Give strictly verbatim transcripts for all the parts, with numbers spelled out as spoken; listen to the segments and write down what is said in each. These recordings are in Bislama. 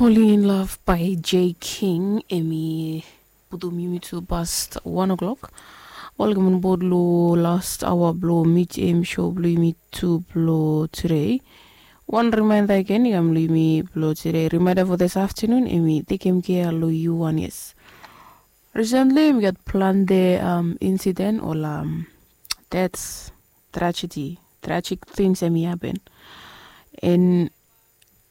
Falling in Love by Jay King, hemi putum yumi tu past one o'clock. Welcome on board lo last hour blo Meet Him show blo yumi tu blo today. Wan reminder again i kam lo yumi blo today. Reminder for this afternoon, hemi tekem care lo yu wan, yes. Recently, we got plante um, incident or um, deaths, tragedy, tragic things hemi happen. And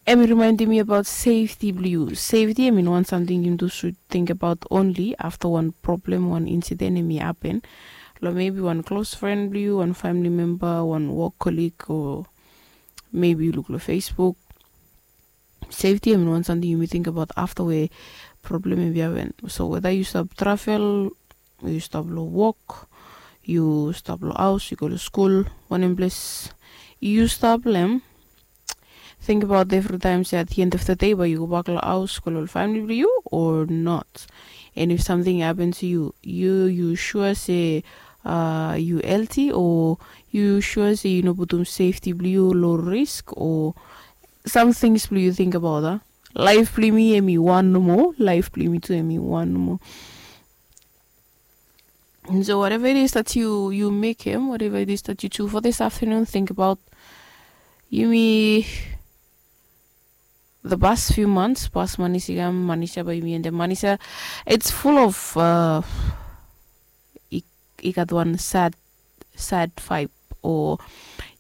hemi reminding me about safety blo yu. Safety, I mean, one something yumi tu should think about only after one problem, one incident hemi happen. Lo maybe one close friend blo yu, one family member, one work colleague, or maybe yu luk lo Facebook. Safety, I mean, one something yumi think about after we problem hemi happen. So whether yu stap travel, yu stap lo work, yu stap lo haos, yu go lo skul, wanem ples yu stap lo hem, think about every time se at the end of the day bae yu go bak lo haos, go lo family blo yu or not. And if something happen to you, yu yu sure se uh, yu healthy o yu sure se yu no putum safety blo yu lo risk o some things blo yu think about, ah? Life blo yumi hemi wan nomo, life blo yumi tu hemi wan nomo. And so whatever it is that you you make him, whatever it is that you do for this afternoon, think about yumi the past few months, past manis i kam, manis ya bae yumi endem, manis ya it's full of uh, i, i gat wan sad sad vibe o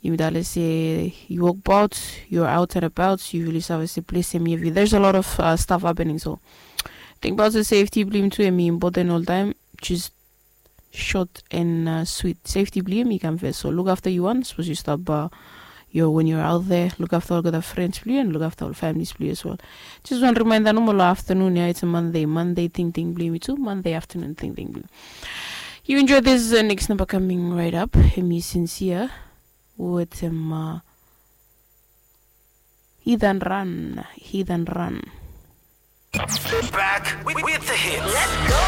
yumi talem se yu wokbaot, yu out and about, yu really save se ples hemi hevi. There's a lot of uh, stuff happening, so think about the safety blo yumi tu hemi important oltaem. Just short and uh, sweet. Safety blo yumi i kam fes, so look after yu wan, sapos yu stap uh, yo when you're out there, look after olgeta friends blo yu and look after ol families blo yu as well. Just wan reminder nomo lo afternoon ya, it's a Monday, Monday tingting blo yumi tu, Monday afternoon tingting blo yu. You enjoy this uh, next number coming right up. Hemi Sincere wetem uh, Hit and Run, Hit and Run. Back with, with the hits. Let's go.